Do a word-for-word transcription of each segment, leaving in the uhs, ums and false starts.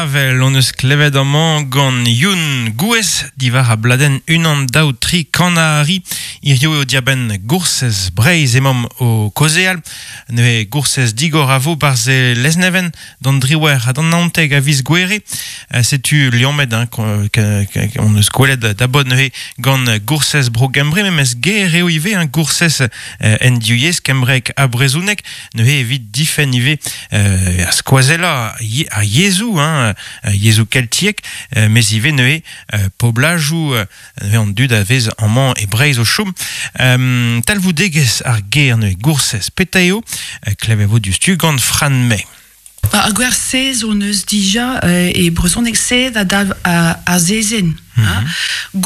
Avel on eus klevet amañ gant Youn Gouez diwar a bladenn unan daou tri kanari hirio eo diabenn goursez Breizh emaomp o kaozeal neuze goursez digor a vo barzh e Lesneven d'an driwer ha d'an naontek a viz Gouere. Setu liammet hein, on eus gwelet da bod neuze gant goursez Bro Gembre memes ger eo ivez hein, goursez en div yezh kembrek ha brezhoneg neuze evit difenn ivez euh, ar skoazella ar yezhoù hein, yezhoù keltiek, mes ivez neuze poblajoù neuze an dud a vez amañ e Breizh o chom. Um, talvoudegezh ar ger neuze goursez petra eo, klevet vo diouzhtu gant Fran May. Ba, ar gwer sez on eus dija euh, e brezhoneg sez a dalv a, a zezenn. Mm -hmm.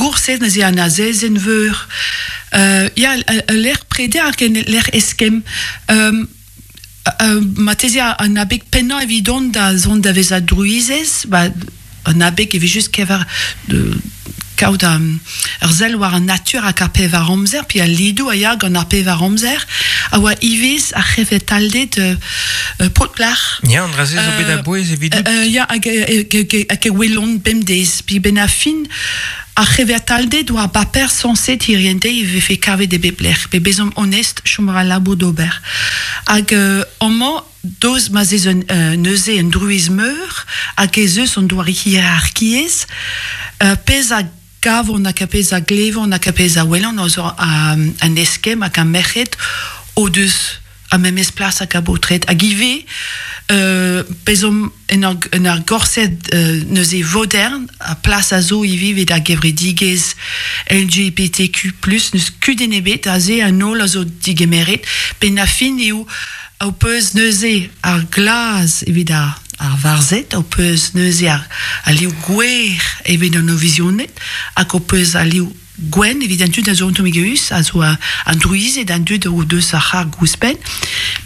Goursez neuze an azezenn veur. Euh, ya, lec'h preder hag en lec'h eskemm. Um, Uh, marteze an abeg pennañ evidon da zont da vezañ drouizez, ba, an abeg evit just kever de, kaout um, ur sell war an natur hag ar pevar amzer, pi al lidoù a ya gant ar pevar amzer, a oa ivez ar c'hevetalded euh, euh, paotr-plac'h. Ya, an dra-se zo bet a-bouez evidout. Euh, ya, hag, hag, hag e welont bemdez. Pi ben a fin, ar c'hevetalded war baper sañset hiriente e vefe kavet e bep lec'h. Pe bezomp onest chom a ra labour d'ober. Hag euh, amañ, doz ma zez un, euh, neuze un drouiz meur, hag ez eus an doare hierarkiezh, euh, pezh a gavont hag a pezh a glevont hag a pezh a welont a zo an eskemm hag an merc'hed o deus a memes plas hag a baotred. Hag ivez, euh, bezomp en ur, en ur gorsedd euh, neuze modern, a plas a zo ivez evit ar gevredigezh L G B T Q plus, neus kudenn ebet, aze an holl a zo digemeret, pe na fin eo o peus neuze ar glaz evit ar, ar varzhed, o peus neuze ar, ar liv gwer evit an ovizioned, hag o peus ar liv gwenn evit an dud a zo antomigeus, a zo an drouized an dud o deus ar c'har gouspenn,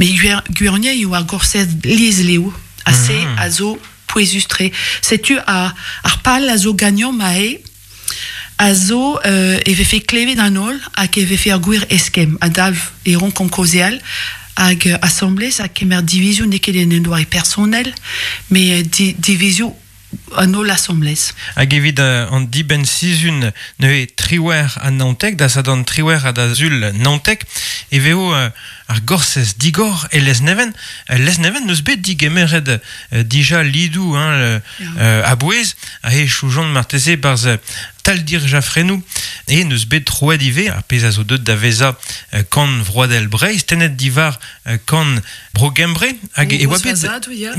met gwirionez eo ar gorsedd lieslev, ha se mm. a zo pouezus-tre. Setu ar, ar pal a zo gagnon ma eo, a zo euh, e vefe klevet an holl hag e vefe ar gwir eskemm, a dalv e ron kaozeal, hag assemblez hag kemer divizioù n'eo ket en un doare personnel, met di, divizioù an holl assemblez. Hag evit uh, an dibenn sizhun neuze triwer a naontek, da sadorn triwer ha da sul naontek, e vezo uh, ar gorsez digor e Lesneven. Lesneven neus bet digemeret uh, dija lidoù hein, uh, a-bouez, a he choujont marteze barz taldir Jaffrenou, e neus bet troet ivez, ar pezh a zo deut da vezañ uh, kan vroadel Breizh, tennet diwar uh, kan Bro Gembre, hag e oa bet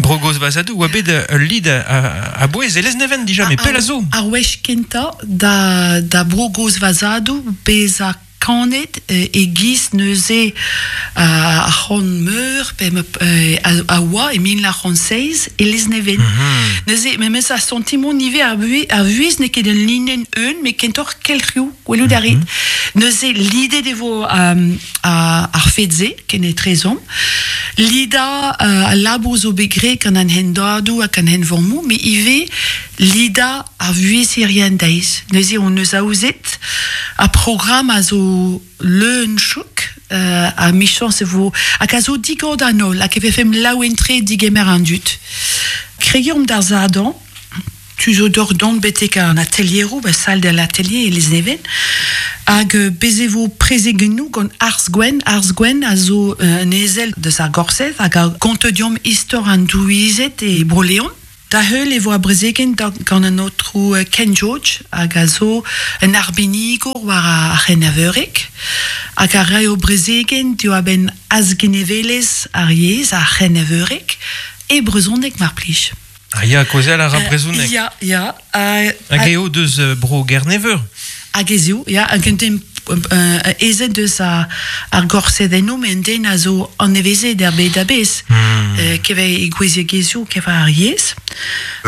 Bro Goz Vazadou, oa bet ul lid a-bouez e Lesneven dija, met pell a zo. Ar wech kentañ da, da Bro Goz Vazadou bezañ kanet e giz neuze ar c'hant meur pe a oa e mil nav c'hant seizh e Lesneven. Mm-hmm. Neuze, memes ar sentiment ivez ar vuhez n'eo ket un linenn eun, met kentoc'h kelc'hioù, gwelout a rit. Mm-hmm. Neuze, lidet e vo um, ar fed-se, ken etrezomp. Lida uh, al labour zo bet graet gant an hendadoù hag an henvormoù, met ivez lida ar vuhez hirien deiz. Neuze, on eus aozet ar programm a zo leun chouk, euh, a michañs e vo hag a zo digor d'an holl, hag e vefemp laouen-tre digemer an dud. Kregiomp d'ar sadorn, tu zo d'or dont betek an atelieroù, ba salle de l'atelier e Lesneven, hag bez e vo prezegennoù gant Arz Gwenn. Arz Gwenn a zo un ezel deus ar gorsedd hag a gonto deomp istor an drouized e Bro-Leon. Da heul e vo a brezegenn gant an aotrou Ken George hag a zo un arbennigour war ar c'hennaveureg hag a raio brezegenn diwar-benn azgenevelezh ar yezh ar c'hennaveureg e brezhoneg mar plij. Ah ya, kaozeal a ra brezhoneg. Uh, ya, ya. Uh, hag eo deus Bro Gerneveur. Hag ez eo, ya, hag un den ezet deus ar, ar gorsedennoù, met un den a zo anevezet er bed a-bezh. Mm. Uh, keve e gouiziegezhioù, keve ar yezh.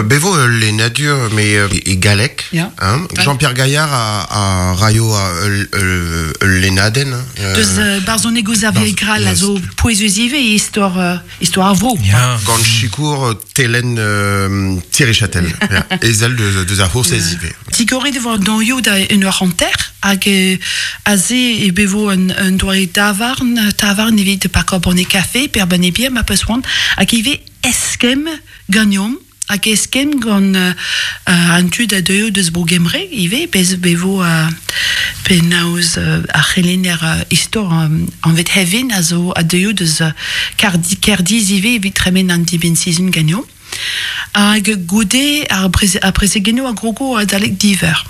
Bevo ul lennadur, mais e galleg. Ya. Hein? Jean-Pierre Gaillard a, a raio ul, ul, ul lennadenn. Euh, deus uh, barzhoneg Xavier Grall a zo pouezus ivez istor, uh, istor ar vro. Ya. Gant sikour Telen euh, Thierry Châtel. Ya. Ezel deus, deus ar c'hoursez ivez. Digoret e vo an da un eur hanter, hag aze e bevo un, un doare tavarn, tavarn evit parkour banne kafe, per banne bier, ma peus c'hoant, hag ivez eskemm gagnomp Hag eskemm gant uh, an tud a deuio deus bro Gembre, ivez, bez bevo uh, penaos uh, ar c'helenner uh, istor um, anvet Hevin a zo a deuio deus uh, Kerdi, Kerdiz ivez evit tremen an dibenn sizhun ganeomp. Hag goude ar, preze, ar prezegennoù a grogo adalek div eur.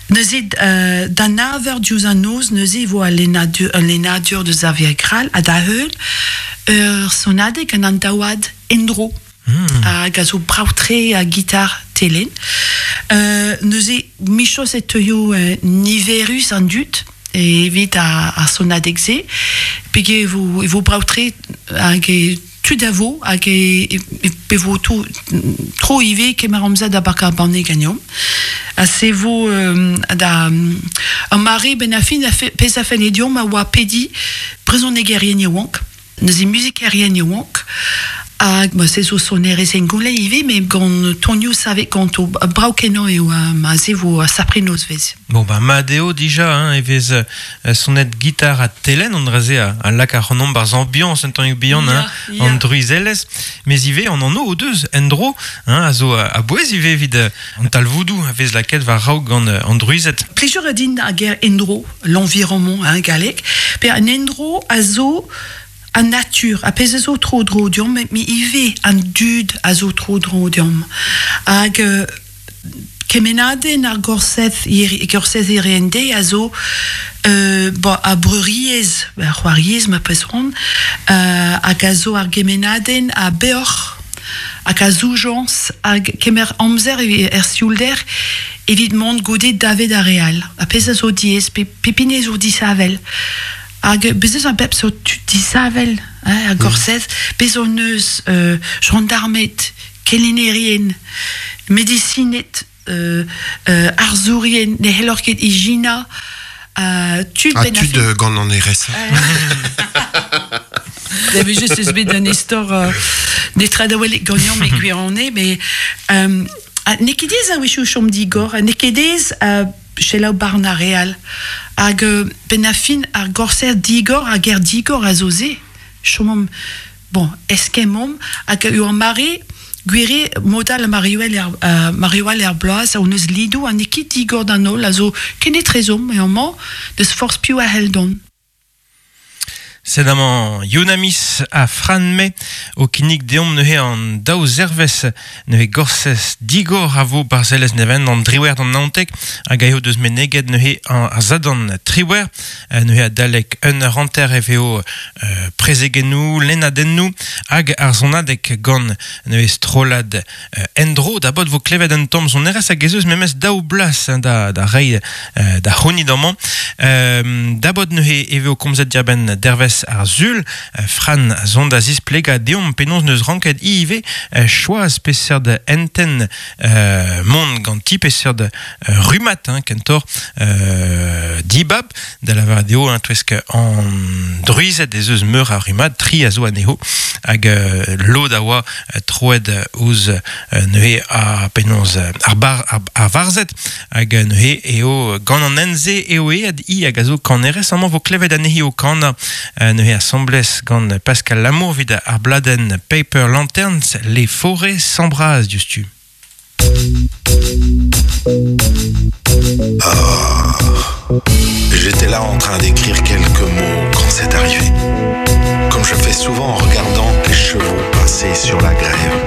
Neuze, euh, da nav eur diouzh an noz, neuze e vo al lennadur, al lennadur deus ar Gral ha da heul ur sonadeg gant an daouad Endro. Mm. Hag a zo brav-tre a gitar telen. Euh, neuze, michos e teuio euh, niverus an dud evit ar, ar sonadeg-se, pege e vo, e vo brav-tre hag e tud a vo hag e, e, e vo to, tro ivez kemer amzer da bakañ ar banne ganeomp. Ha se vo euh, da an mare ben a fin a fe, pezh a felle deomp a oa pedi brezhonegerien yaouank, neuze muzikerien yaouank, hag ma se zo sonerezh hengounel ivez, met gant tonioù savet ganto brav-kenañ eo ma se vo a sapre nozvezh. Bon, ba mat eo dija, hein, e vez euh, sonet gitar ha telenn, an dra-se a, a lak ac'hanomp barzh ambiañs un tammig bihan, hein, Ya, ya. an druizelezh, mes ivez an anv o deus endro, hein, a zo a, a bouez ivez evit euh, an talvoudoù a vez lakaet war raok gant euh, an druized. Plijour a din ar ger endro, l'environnement, hein, galleg, pe an endro a zo an natur, a pezh a zo tro dro deomp, met ivez an dud a zo tro dro deomp. Hag euh, kemennadenn ar gorsedd gorsedd hirie a zo euh, bo, a breuriezh, a c'hoariezh ma pezh ron, euh, hag a zo ar gemennadenn a beoc'h, hag a zoujañs, hag kemer amzer er sioulder evit mont goude davet ar re all. A pezh a zo diaes, pe, pep hini zo disheñvel. Hag bez eus a bep seurt tud disheñvel, hein, ar gorsedd, bez hon eus euh, gendarmed, kelennerien, medisined, euh, euh, arzourien, ne c'hellor ket ijinañ, euh, tud Ah, ben a tud fin- euh, gant an R S A. J'avais juste eus bet un istor euh, netra da welet ganeomp e gwirionez, mais euh, ha n'eo ket aes a-wechoù chom digor, ha n'eo ket aes euh, selaou barn ar re all. Hag euh, ben a fin ar gorsedd digor, ar ger digor a zo se. Chomomp, bon, eskemmomp, hag eo ar mare, gwir eo modal Mariwell er, euh, Mariwell er bloaz, hon eus lidoù, ha n'eo ket digor d'an holl, a zo kenetrezomp, e amañ, deus forzh piv a c'hell dont. Sed amañ Yonamis a Fran-me o kinnig deomp neuze an daou zervez neuze gorsez digor a vo barzh Lesneven an driwer d'an naontek hag a eo deus meneget neuze an ar zadorn triwer neuze adalek un eur hanter e vezo euh, prezegennoù, lennadennoù hag ar sonadeg gant neuze strollad euh, endro da bot vo klevet un tamm sonerezh hag ez eus memes daou blas hein, da, da reiñ euh, da c'hounit amañ. Euh, da bot neuze e vezo komzet diarbenn dervez ar sul, euh, Fran a zont da zisplegañ deomp penaos neus ranket ivez euh, choaz peseurt enten euh, mont ganti peseurt euh, rummad hein, kentoc'h euh, dibab da lavaret eo hein, touesk an druized ez eus meur a rummad tri a zo anezho hag euh, lod a oa euh, troet ouzh euh, neuze a penaos ar bar ar, ar varzhed hag neuze eo gant an hent-se eo aet hi hag a zo kanerez amañ vo klevet anezhi o kanañ euh, neuze asambles gant Pascal Lamour evit ar bladenn Paper Lanterns, Les Forêts s'embrasent diouzhtu. Ah, j'étais là en train d'écrire quelques mots quand c'est arrivé. Comme je fais souvent en regardant les chevaux passer sur la grève.